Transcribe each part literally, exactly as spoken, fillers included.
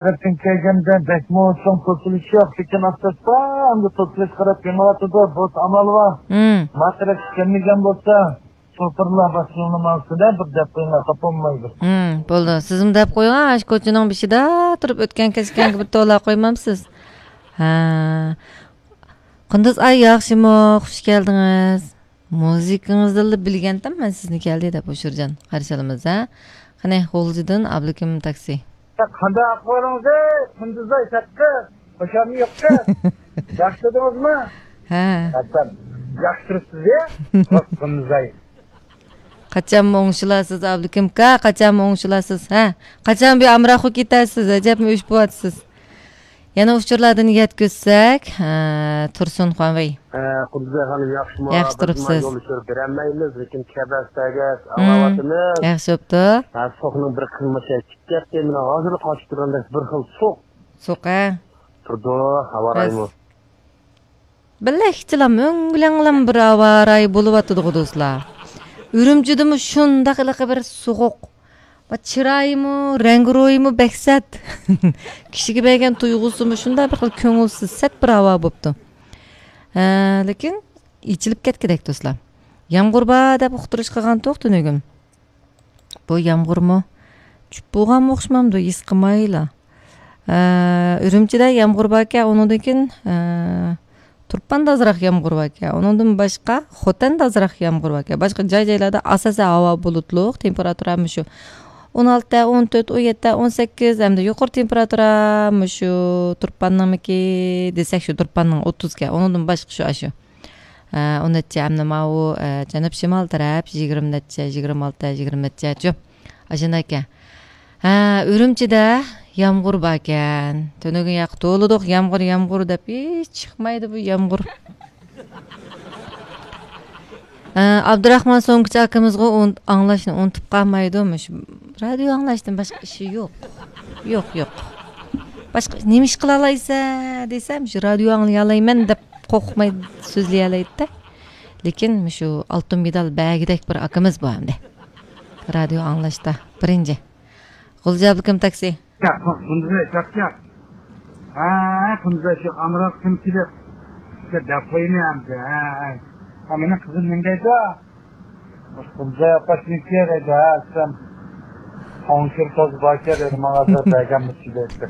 تەرەپتىن كەلگەندە بەكمۇ چوڭ توسۇلۇش يوق، لېكىن ئاستا-ئاستا ئەمدى توسۇلۇش قاراپ مېڭىۋاتىدۇ. بولسا ئامال بار. مم. ما تەرەپكە كەلمىگەن بولسا، شوپۇرلار باشلىنىپ ماڭسىدە، بىر دەپ قويۇڭلار، خاپا بولمايدۇ. مم، بولدى. سىزمۇ دەپ قويۇڭ، ئاشۇ كوچىنىڭ بېشىدا تۇرۇپ ئۆتكەن كەچكەنگە بىر توۋلاپ قويمامسىز؟ ھە. قۇندۇز ئاي ياخشىمۇ؟ خۇش كەلدىڭىز. مۇزىكىڭىزدىنلا بىلگەنتىم مەن سىزنى كەلدى دەپ، ئۇشۇرجان. قارشى ئالىمىز، ھە؟ قېنى، غۇلجىدىن ئابلىكىم تاكسى. قانداق ئەھۋالىڭىز، قۇندۇزاي تەتقى؟ خۇشامى يوققا؟ ياخشى تۇردىڭىزمۇ؟ ھە. ئەپەم، ياخشى تۇرۇپسىز يا؟ قۇندۇزاي. قاچانمۇ ئوڭشىلارسىز، ئابلىكىم ئاكا؟ قاچانمۇ ئوڭشىلارسىز، ھە؟ قاچان بۇ ئامراق بولۇپ كېتەرسىز؟ ئەجەبمۇ ئۆچ بولۇۋاتىسىز. يەنە ئۇچۇرلاردىن يەتكۈزسەك، ھە، تۇرسۇن خۇەنۋېي. ھە، قۇدۇزەي خانىم، ياخشىمۇ؟ ياخشى بىز مانا تۇرۇپسىز. يول ئۇچۇر بېرەلمەيمىز، لېكىن كەبەس تەگەس، مم، ئاڭلاۋاتىمىز. ياخشى بوپتۇ. ھە، سوقنىڭ بىر قىلمىشى چىقىپ كەتتى، مېنىڭ ھازىرلا قاچىپ تۇرغاندەك بىر خىل سوق. سوق، ھە؟ تۇرىدۇ، ھاۋا رايىمۇ. بىلەكچىلام، ئۆڭگۈلەڭلام بىر ھاۋا رايى بولۇۋاتىدىغۇ، دوستلار. ئۈرۈمچىدىمۇ شۇنداق ھېلىقى بىر سوغۇق. ما چىرايىمۇ، رەڭگىرويىمۇ بەك سەت. كىشىگە بەرگەن تۇيغۇسىمۇ شۇنداق بىر خىل كۆڭۈلسىز، سەت بىر ھاۋا بوپتۇ. ھە، لېكىن ئېچىلىپ كەتكۈدەك، دوستلار. يامغۇر بار دەپ ئۇقتۇرۇش قىلغانتۇق تۈنۈگۈن. بۇ يامغۇرمۇ چۈشۈپ بولغانمۇ ئوخشىمامدۇ، ھېس قىلمايلا. ئە، ئۈرۈمچىدە يامغۇر باركەن، ئۇنىڭدىن كېيىن، ئە، تۇرپاندا ئازراق يامغۇر باركەن. ئۇنىڭدىن باشقا خوتەندە ئازراق يامغۇر باركەن. باشقا جاي-جايلاردا ئاساسەن ھاۋا بۇلۇتلۇق، تېمپېراتۇرا مۇشۇ ئون ئالتە، ئون تۆت، ئون يەتتە، ئون سەككىز، ھەمدە يۇقىرى تېمپېراتۇرا مۇشۇ تۇرپاننىڭمىكى دېسەك، شۇ تۇرپاننىڭ ئوتتۇزكەن. ئۇنىڭدىن باشقا شۇ، ئاشۇ. ئە، ئون نەچچە، ئەمدى ماۋۇ، ئە، جەنۇب شىمال تەرەپ يىگىرمە نەچچە، يىگىرمە ئالتە، يىگىرمە نەچچە، شۇ. ئاشۇنداكەن. ھە، ئۈرۈمچىدە يامغۇر باركەن. تۈنۈگۈن ياقى تولىدۇق، يامغۇر، يامغۇر دەپ، ھېچ چىقمايدۇ بۇ يامغۇر. ھە، ئابدۇراخمان سوڭكىچى ئاكىمىزغۇ ئۇن-، ئاڭلاشنى ئۇنتۇپ قالمايدۇ. مۇشۇ رادىيو ئاڭلاشتىن باشقا ئىشى يوق. يوق، يوق. باشقا نېمە ئىش قىلالايسەن دېسەم، شۇ رادىيو ئاڭلىيالايمەن دەپ قورقماي سۆزلىيەلەيدىدە. لېكىن مۇشۇ ئالتۇن مېدال بەرگۈدەك بىر ئاكىمىز بار ئەمدى. رادىيو ئاڭلاشتا بىرىنچى. غۇلجا ئابلىكىم تاكسى. ياق، قۇندۇزى چاقچاق. ھە، قۇندۇزى شۇ ئامراق كىم كېلىپ، شۇ دەپ قويىمەن ئەمدى. ھە، ھە. ھە، مېنىڭ قىزىم نېمە دەيدۇ؟ قۇندۇزى ئاپاش نېمە دەيدۇ؟ ھە، سەن قوڭشۇر توز باركەن دەيدۇ، ماڭا بىر بەرگەنمىسى دەيدۇ.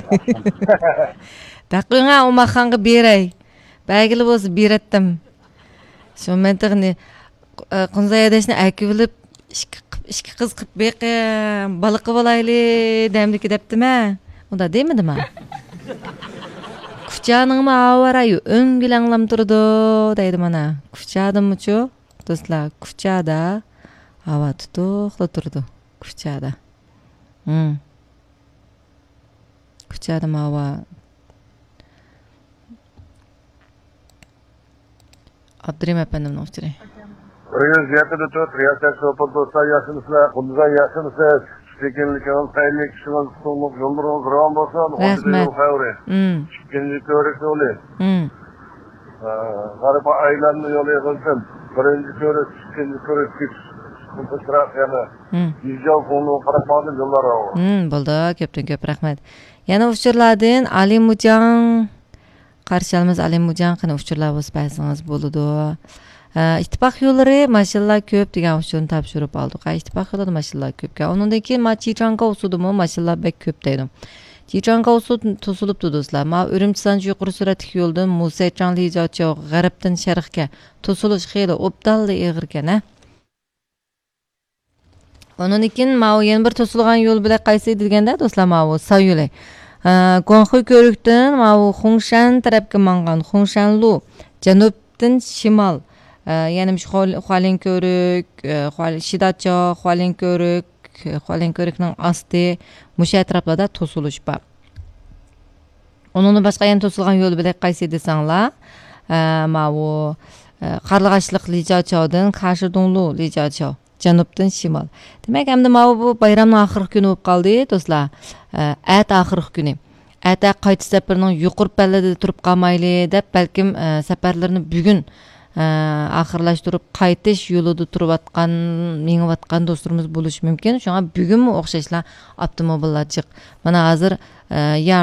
دەقىڭە ئۇماخانغا بېرەي. بەرگىلى بولسا بېرەتتىم. شۇ مەن تېخى نى-، ئە، قۇنزاي ھەدەشنى ئەكىۋېلىپ، ئىككى قىپ-، ئىككى قىز قىپ بېقىڭ، بالا قىۋالايلى دەمدىكى دەپتىمە. ئۇنداق دېمىدىمە. كۇچانىڭمۇ ھاۋا رايى ئۆڭگۈلەڭلام تۇرىدۇ، دەيدۇ مانا. كۇچادىمۇچۇ، دوستلار، كۇچادا ھاۋا تۇتۇقلا تۇرىدۇ. كۇچادا. ھىم. كۇچادىمۇ ھاۋا. ئابدۇرېھىم ئەپەندىمنىڭ ئۇچۇرى. بىر يۈز يەتتە تۆت رىياسەت شوپۇر دوستلار، ياخشىمۇسىلەر؟ قۇندۇزاي، ياخشىمۇسىز؟ چۈشكەنلىكىڭىز خەيرلىك، ئىشىڭىز ئۇتۇقلۇق، يوللىرىڭىز راۋان بولسۇن. رەھمەت. ئون يول خەۋىرى. ئىككىنچى كۆۋرۈك يولى. ھە، غەربىي ئايلانما يولى يىغىلسۇن. بىرىنچى كۆۋرۈك، ئىككىنچى كۆۋرۈك، كۆپرەك يەنە. يۈزياۋ كۇڭلۇغا قاراپ ماڭدىم، يوللار راۋان. بولدى، كۆپتىن كۆپ رەھمەت. يەنە ئۇچۇرلاردىن ئالىمۇجاڭ. قارشى ئالىمىز ئالىمۇجاڭ، قېنى ئۇچۇرلار بولسا بەرسىڭىز بولىدۇ. ئە، ئىتتىپاق يوللىرى ماشىنىلار كۆپ دېگەن ئۇچۇرنى تاپشۇرۇپ ئالدۇق. ئە، ئىتتىپاق يولىدا ماشىنىلار كۆپكەن. ئۇنىڭدىن كېيىن ما چىچاڭ كاۋسۇدىمۇ ماشىنىلار بەك كۆپ دەيدۇ. چىچاڭ كاۋسۇ توسۇلۇپتۇ دوستلار. ما ئۈرۈمچى سانجى يۇقىرى سۈرئەتلىك يولىدىن مۇسەيچاڭ لىجاچاۋ غەربتىن شەرقكە توسۇلۇش خېلى ئوبدانلا ئېغىركەن ھە. ئۇنىڭدىن كېيىن ماۋۇ يەنە بىر توسۇلغان يول بىلەن قايسى دېگەندە، دوستلار، ماۋۇ ساۋ يولى. ئە، گۇاڭخۇي كۆۋرۈكتىن ماۋۇ خۇڭشەن تەرەپكە ماڭغان خۇڭشەنلۇ، جەنۇبتىن شىمال، ئە، يەنە مۇشۇ خۇا-، خۇالىن كۆۋرۈك، ئە، خۇا-، شىداچاۋ، خۇالىن كۆۋرۈك، خۇالىن كۆۋرۈكنىڭ ئاستى، مۇشۇ ئەتراپلاردا توسۇلۇش بار. ئۇنىڭدىن باشقا يەنە توسۇلغان يول بۆلەك قايسى دېسەڭلار، ئە، ماۋۇ، ئە، قارلىغاچلىق لىجاچاۋدىن كاشىدۇڭلۇ لىجاچاۋ، جەنۇبتىن شىمال. دېمەك، ئەمدى ماۋۇ بۇ بايرامنىڭ ئاخىرقى كۈنى بولۇپ قالدى، دوستلار. ئە، ئەتە ئاخىرقى كۈنى. ئەتە قايتىش سەپىرىنىڭ يۇقىرى پەللىدە تۇرۇپ قالمايلى دەپ، بەلكىم، ئە، سەپەرلىرىنى بۈگۈن، ئاخىرلاشتۇرۇپ قايتىش يولىدا تۇرۇۋاتقان، مېڭىۋاتقان دوستلىرىمىز بولۇشى مۇمكىن. شۇڭا بۈگۈنمۇ ئوخشاشلا ئاپتوموبىللار جىق. مانا ھازىر، ئە، يا